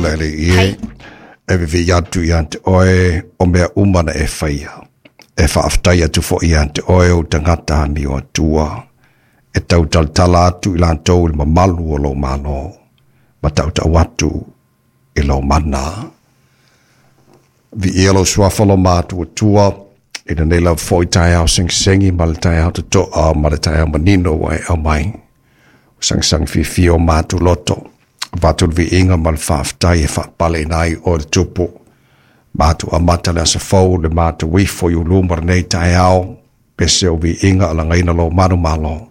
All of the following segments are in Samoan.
le Alii e, e vivi'i atu ia te oe o mea uma na e faia. E faafetai atu foi ia te oe ou tagata amio atua, e tautalatala atu i latou i le mamalu o lou Malo, ma tautau atu i lou mana. Viia lou suafa lo matou Atua, i lenei lava foi taeao segisegi ma le taeao totoa ma le taeao manino ua e aumai. Ua sagisagi fiafia o matou loto, avatu le viiga ma le faafetai e faapaleina ai oe le Tupu. Matou amata le aso fou le matou ifo i uluma lenei taeao, pese o viiga alagaina lou manumalo.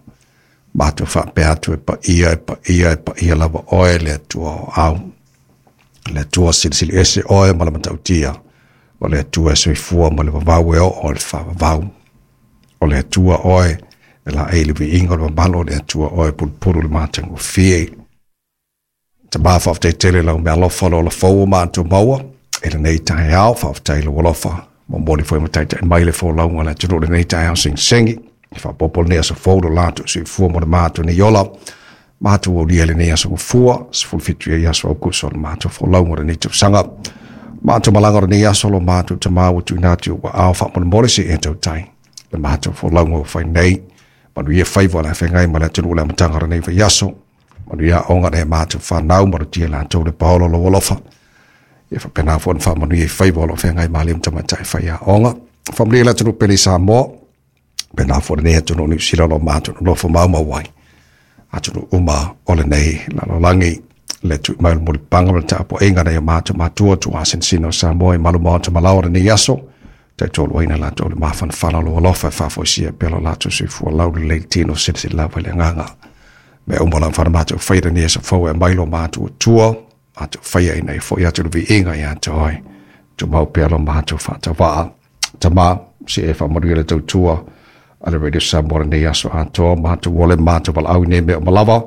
Matou faapea atu e paia, e paia, e paia lava oe le Atua o au. Le Atua silisili ese oe ma le matautia, o le Atua e soifua ma le vavau e oo i le faavavau. O le Atua oe e laei le viiga o le mamalu o le Atua oe e pulupulu le matagofie. Tama faafetai tele lau meaalofa le ola fou o matou maua i lenei taeao, faafetai lou alofa momoli foi ma taitai mai le folauga a le atunuu lenei taeao segisegi. E faaopoopo lenei aso fou lo latou soifua mo le matou nei ola. Matou aulia lenei aso gafua, 17 ai aso Aukuso o le matou folauga o lenei tausaga. Matou malaga o lenei aso lo matou tama ua tuuina atu ua ao faamolemole se e tautai. Le matou folauga ua fai nei, manuia faiva o le afeagai ma le atunuu le amataga o lenei vaiaso. Manuia aoga le matou whanau, malutia latou le paolo lou alofa. Ia faapena foi ona faamanuia i faiva o lo o feagai ma alii ma tamaitai faiaoga. Faamanuia le atunuu pele i Samoa, pena foi lenei atunuu Niu Sila o lo o matou nonofo maumau ai. Atunuu uma o lenei lalolagi, le tui mai o le mulipapaga ma le tapuaiga nai o matou matua tuasinasina o Samoa i malu maota malaoa lenei aso. Taitoluaina latou le mafanafana o lou alofa e faafoisia pea lo latou soifua laulelei tino silasila lava i le agaga. Mea uma lava na matou faia lenei aso fou e aumai lo matou Atua, matou faia ina ia foi atu le viiga ia te oe. Tumau pea lo matou faatauva'a. Tama, se e faamanuia le tautua a le Radio Samoa lenei aso atoa, matou ole matou valaau i nei mea uma lava,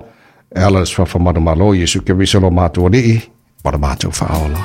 e ala i le suafa manumalo Iesu Keriso lo matou Alii ma le matou Faaola.